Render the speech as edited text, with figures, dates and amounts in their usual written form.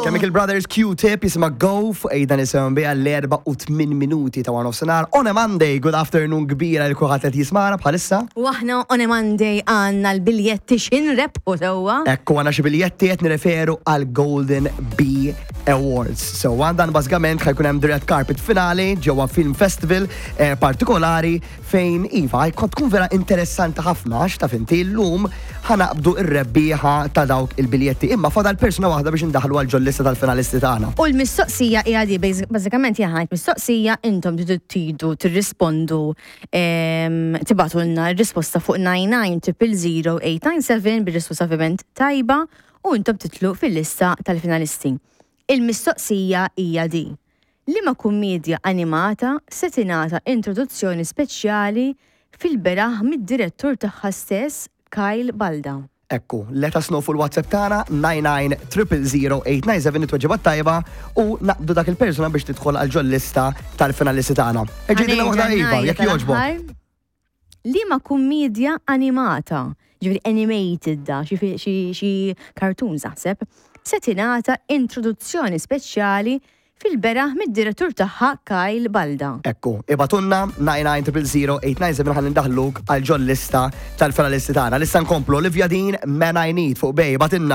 Chemical Brothers Q-Tip jisimha Go fuq Ejda Nisimgħu Biha l-4 u 8 minuti ta' 1 nofsinhar on a Monday. Good afternoon kbira lil kulħadd qed jismagħna bħalissa. U aħna on a Monday għandna l-biljetti x'inrebħu sewwa. Ekku għandna xi biljetti qed nirreferu għal Golden Bee Awards. So għandan bażikament ħa jkun hemm the red carpet finali ġewwa Film Festival partikolari fejn iva ħajkun tkun vera interessanti ħafna għax taf inti llum ħa naqbdu r-rebbieħa ta' dawk il-biljetti. Imma fadal persuna waħda biex indaħlu għal ġol-lista tal-finalisti tagħna. U l-mistoqsija hija di, bażikament hija ħajt mistoqsija intom tridu tridu tirrispondu tibagħtulna r-risposta fuq 99 000 bir-risposta ovvjament tajba u intom titlu fil-lista tal-finalisti. Il-mistoqsija hija di. Liema kummedja animata se tingħata introduzzjoni speċjali fil-beraħ mid-direttur tagħha stess Kyle Balda? Ekku, let us know fuq il-WhatsApp tagħna 99 000 it-tweġiba tajba u naqbdu dak il-persuna biex tidħol għal ġol-lista tal-finalisti tagħna. Eġidina waħda iva, jekk jogħġbok. Liema kummedja animata, ġifieri animated da, xi cartoons naħseb, se tingħata introduzzjoni speċjali fil-beraħ mid-direttur tagħha Kyle Balda? Ekku, ibagħtulna 99 000 ħalli ndaħluk għal ġol-lista tal-finalisti tagħna. Lista nkomplu Olivia Dean, Man I Need fuq Bay, ibagħtilna.